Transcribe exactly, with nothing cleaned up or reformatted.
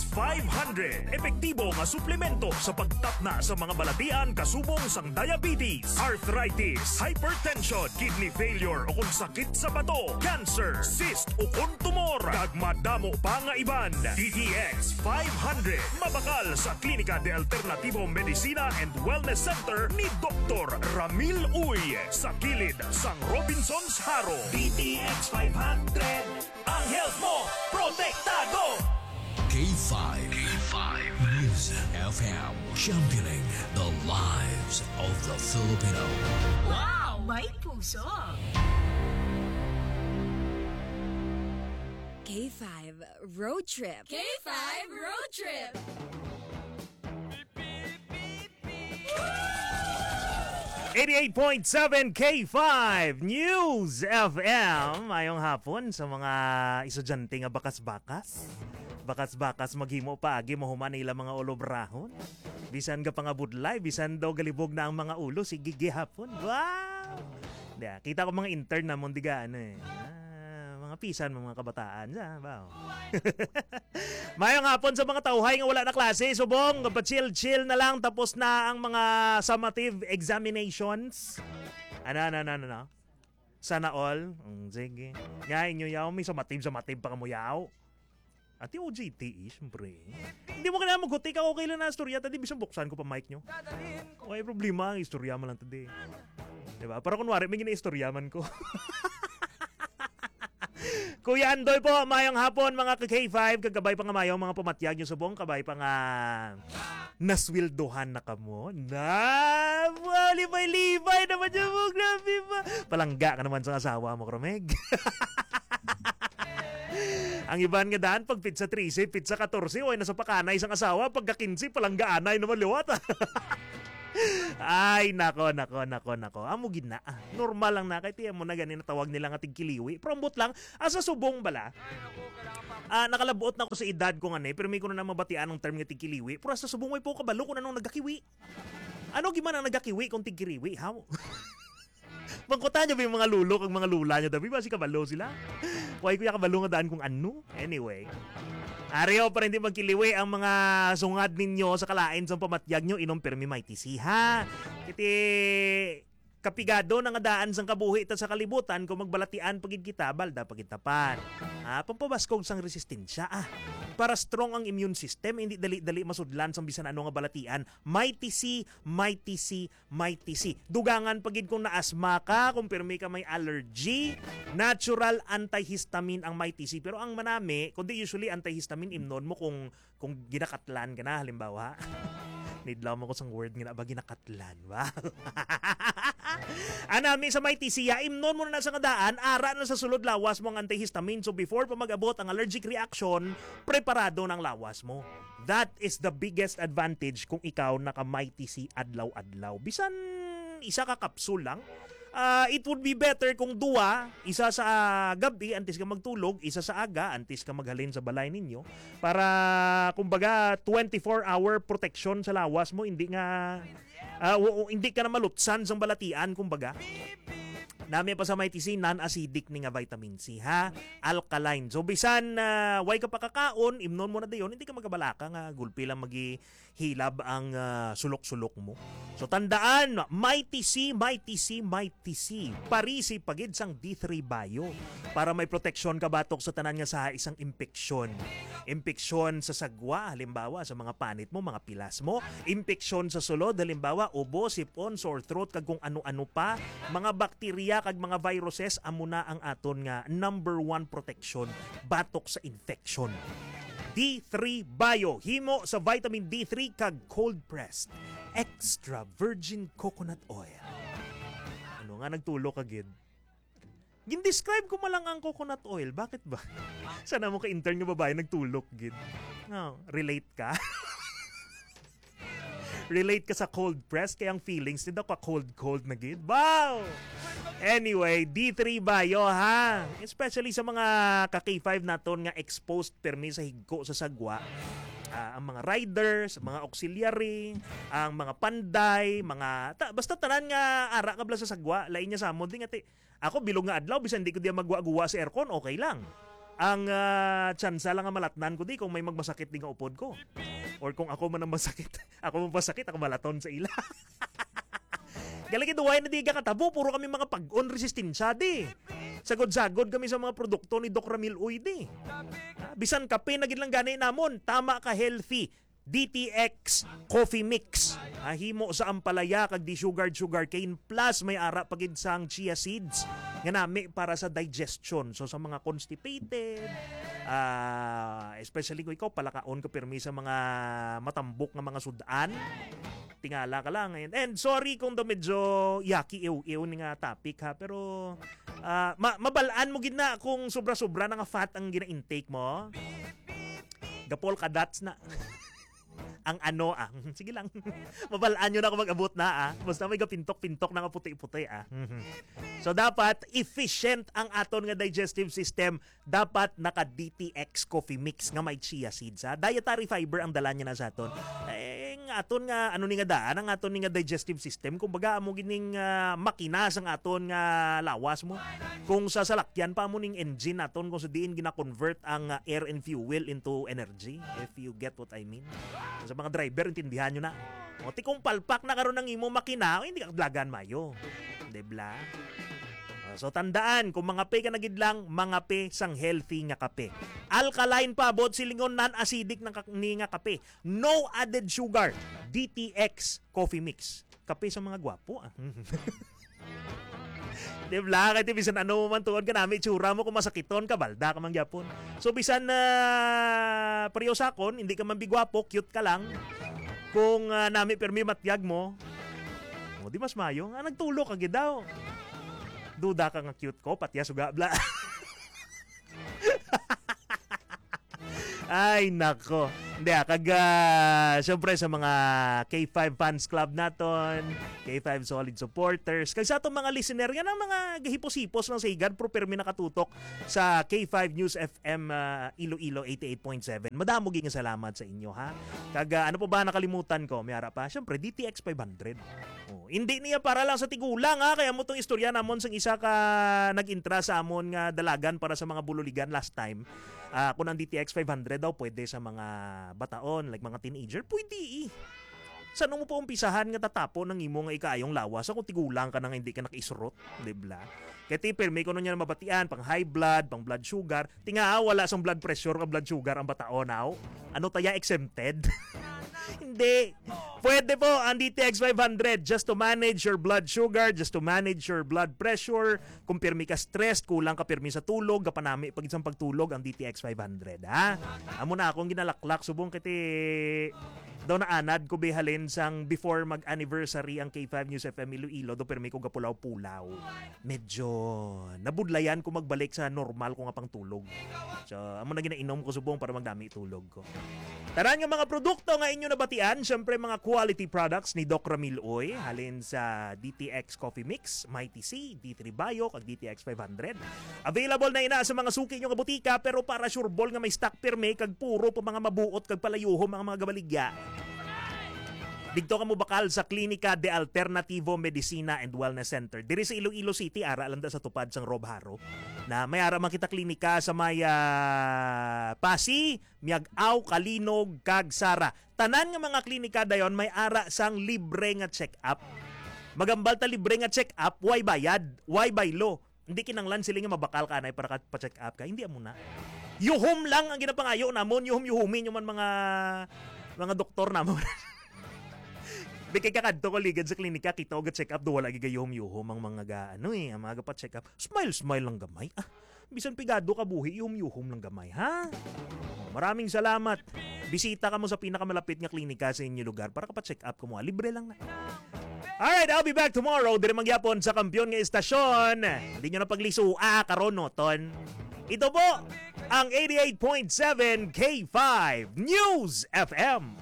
five hundred, epektibo nga suplemento sa pagtapna sa mga balatian kasubong sang diabetes, arthritis, hypertension, kidney failure, o kung sakit sa bato, cancer, cyst, o kung tumor, kag madamo pa nga iban. D T X five hundred, mabakal sa Klinika de Alternativo Medicina and Wellness Center ni Doktor Ramil Uy, sa kilid sang Robinsons Jaro. D T X five hundred, ang health mo protektado. K five. K five News F M, championing the lives of the Filipino. Wow! May puso! K five Road Trip. K five Road Trip. Eighty-eight point seven K five News F M. Mayong hapon sa mga estudyante nga bakas-bakas. Bakas-bakas maghimo paagi, mahuman na ila mga ulobrahon. Bisan gapangabudlay, bisan daw galibog na ang mga ulo, sige gihapon. Wow! Di, kita ko mga intern namon diga, ano eh. Ah, mga pisan, mga kabataan. Sa, wow. Mayong hapon sa mga tawhay nga wala na klase, subong, pa-chill-chill na lang, tapos na ang mga summative examinations. Ano, ano, ano, ano, ano? Sana all? Mm, sige. Nga inyo yaw, may summative, summative pa kamo yaw. Ati O J T E, siyempre. Hindi mo kailangan maghuti ka, okay lang na istorya, tadi, bisan buksan ko pa mic nyo. Way problema, ang istorya man lang, tadi. Diba? Para kunwari, may ginaistorya man ko. Kuya Andoy po, mayong hapon, mga ka K five, kag kabay pa nga mayong mga pamatyag nyo subong, kabay pa nga nasweldohan na kamo. Na, wow, libay-libay naman yun mo, grabe ba? Palangga ka naman sa asawa mo, Kromeg. Ang iban nga daan, pag pitsa trese, pitsa katorse, way nasa pakanay sang asawa, pagka kinse, palanggaanay naman liwat. Ay, nako, nako, nako, nako. Amo gid na. Ah, normal lang na. Kay tiyan mo na gani natawag nila nga tigkiliwi. Pero ambot lang, asa subong bala? Ah, nakalabot na ko sa edad ko nga ni, pero may ko na mabatian ang term nga tigkiliwi. Pero asa subong, way po kabalo kung anong nagakiwi. Ano gimana ang nagakiwi kung tigkiriwi, haw? Bangkutan nyo ba yung mga lulo kag mga lula nyo, tabi ba si kabalo sila? Way ko ya kabalo nga daan kung ano. Anyway. Ariyo, para hindi magkiliwi ang mga sungad ninyo sa kalain sa pamatyag nyo, inom pirmi may tisi, ha? Kiti kapigado na nga daan sang kabuhi ta sa kalibutan kung magbalatian pa gid kita, balda pa gid tapan. Ah, pampabaskog sang resistensya, ah. Para strong ang immune system, hindi dali-dali masudlan sang bisan ano nga balatian. May tisi, may tisi, may tisi. Dugangan pa gid kung naasma ka, kung pirmi ka may allergy, natural antihistamine ang may tisi. Pero ang manami, kundi usually antihistamine, imnon mo kung, kung ginakatlan ka na, halimbawa. Nidlaw mo ko sang word nga na ba ginakatlan, ba? Anami sa may tisi, imnon mo na sa kadaan, ara na sa sulod lawas mo ang antihistamine. So before pa mag-abot ang allergic reaction, preparado ng lawas mo. That is the biggest advantage kung ikaw naka may tisi adlaw-adlaw. Bisan isa ka kapsul lang, ah, it would be better kung duwa, isa sa gabi antes ka magtulog, isa sa aga antes ka maghalin sa balay ninyo, para kumbaga twenty-four hour protection sa lawas mo, hindi nga, ah, wa-, hindi ka na malutsan sang balatian, kumbaga. Nami pa sa may tisi, non-acidic ni nga vitamin C, ha? Alkaline. So, bisan, ah, way ka pakakaon, imnon mo na dayon, hindi ka magabalaka nga gulpi lang magihilab ang, ah, sulok-sulok mo. So, tandaan, may tisi, may tisi, may tisi. Parisi pagid sang D three Bio para may proteksyon ka batok sa tanan nga sa isang impeksyon. Impeksyon sa sagwa, halimbawa, sa mga panit mo, mga pilas mo. Impeksyon sa sulod, halimbawa, ubo, sipon, sore throat, kag kung ano-ano pa. Mga bakterya kag mga viruses, amo na ang aton nga number one protection batok sa infection. D three Bio, himo sa vitamin D three kag cold pressed, extra virgin coconut oil. Ano nga nagtulok ka gid? Gin-describe ko man lang ang coconut oil. Bakit ba? Sana mo ka-intern nga babae nagtulok gid. No, relate ka? Relate ka sa cold press, kaya ang feelings nito ka cold cold na gid. Wow! Anyway, D three Bio, ha? Especially sa mga ka K five naton nga exposed permi sa higko sa sagwa. Ah, ang mga riders, mga auxiliary, ang mga panday, mga ta-, basta tanan nga ara ka bala sa sagwa, lain niya sa amon, di nga ti-, ako bilog nga adlaw, bisan di ko diya magwa-guwa sa aircon, okay lang. Ang, ah, tsansa lang nga malatnan ko di kung may magmasakit di nga upod ko. Or kung ako man ang masakit, ako man masakit, ako malaton sa ila. Galing ito, why na di ka katabo? Puro kami mga pag-on resistensya di. Sagod-sagod kami sa mga produkto ni Doc Ramil Uy di. Ah, bisan kape na gid lang gani namon, tama ka healthy. D T X Coffee Mix. Ah, himo sa ampalaya kag desugared sugarcane plus may ara pa gid sang chia seeds nga nami para sa digestion. So sa mga constipated, ah, especially kung ikaw palakaon ka pirmi sa mga matambok nga mga sudan, tingala ka lang. And, and sorry kung daw medyo yaki iw-iw ni nga topic ha, pero ah, ma- mabalaan mo gid na kung sobra-sobra na nga fat ang gina-intake mo. Gapol ka dots na. Ang ano ah. Sige lang. Mabalaan nyo na ako mag-abot na ah. Basta may gapintok-pintok na nga puti-puti ah. So dapat efficient ang aton nga digestive system. Dapat naka D T X coffee mix nga may chia seeds ha. Dietary fiber ang dala niya na sa aton. Eh, ang aton nga ano ni nga daan, ang aton ni nga digestive system, kumbaga amo gining ah, makina sang aton nga lawas mo. Kung sa salakyan pa mo ning engine naton kung sa diin gina-convert ang ah, air and fuel into energy, if you get what I mean. Sa mga driver, intindihan nyo na. O, ti kung palpak na karon ang imo makina, o, hindi ka kadlagan mayo. Di bla? O, so, tandaan, kung mangape ka na gid lang, mangape sang healthy nga kape. Alkaline pa, buot silingon, non-acidic ng kak- ni nga kape. No added sugar. D T X Coffee Mix. Kape sa mga gwapo, ah. Di bla? Kay ti bisan ano man tuod ka nami, tsura mo kung masakiton ka, balda ka man gyapon. So, bisan na pareho sa akon, hindi ka man bigwapo, cute ka lang. Kung ah, nami permi matyag mo, o di mas mayo. Ah, nagtulo ka gid daw. Duda ka nga cute ko, patya suga, bla. Ay, nako. Hindi ah, kag ah, syempre sa mga K five fans club naton, K five solid supporters, kag sa atong mga listener, yan ang mga gahipos-hipos lang sa higad, pero permi nakatutok sa K five News F M ah, Iloilo eighty-eight point seven. Madamo gyud nga salamat sa inyo, ha? Kag ah, ano pa ba nakalimutan ko? May ara pa? Syempre, D T X five hundred. Oh, hindi niya para lang sa tigulang, ha? Kaya mo tong istorya namon sang isa ka nag-intra sa amon nga dalagan para sa mga bululigan last time. Ah, kung ang D T X five hundred daw pwede sa mga bataon, like mga teenager, pwede eh. Saan mo pa umpisahan nga tatapon ang imo nga ikaayong lawas kung tigulang ka na nga hindi ka nakaisurot, di bla? Kaya ti, permi ko nun yan mabatian, pang high blood, pang blood sugar. Tinga, ah, wala sang blood pressure o blood sugar ang bataon, aw? Ano taya, exempted? Hindi. Pwede po ang D T X five hundred just to manage your blood sugar, just to manage your blood pressure. Kung pirmi ka stressed, kulang ka pirmi sa tulog, kapanami pag isang pagtulog ang D T X five hundred, ha? Amo na akong ginalaklak, subong kiti daw naanad ko bihalin sang before mag-anniversary ang K five News F M Iloilo, do pirmi ko gapulaw-pulaw. Medyo nabudlayan ko magbalik sa normal ko nga pangtulog. So, amo na ginainom ko subong para magdami tulog ko. Tanan nga mga produkto nga inyo nabatian, syempre mga quality products ni Doc Ramil Uy, halin sa D T X Coffee Mix, Mighty C, D three Bio, kag D T X five hundred. Available na ina sa mga suki nyo nga butika, pero para sure ball nga may stock pirme kag puro pa mga mabuot kag palayuhom ang mga gabaligya. Didto ka mobakal sa Klinika de Alternativo Medicina and Wellness Center. Diri sa Iloilo City, ara lang da sa tupad sang Rob Haro. Na may ara man kita klinika sa may, ah, Pasi, Miag-aw, Kalinog, kag Sara. Tanan nga mga klinika dayon may ara sang libre nga check-up. Magambal ta libre nga check-up, way bayad, way baylo. Hindi kinanglan sila nga mabakal ka anay para ka pa-check up ka. Hindi amo na. Yuhom lang ang ginapangayo namon, yuhom-yuhumi nyo man mga mga doktor namon. Bikay ka kadto ko ligad sa klinika, kita ko ga-check up do wala gigayuhom-yuhom ang mga ga ano eh, ang mga pa-check up. Smile, smile lang gamay. Ah, bisan pigado ka buhi, yuhom-yuhom lang gamay, ha? Maraming salamat. Bisita ka mo sa pinakamalapit nga klinika sa inyo lugar para ka pa-check up ka mo. Libre lang na. Alright, I'll be back tomorrow. Diri mangyapon sa kampiyon nga istasyon. Hindi nyo na paglisua karon, no, ton. Ito po ang eighty-eight point seven K five News F M.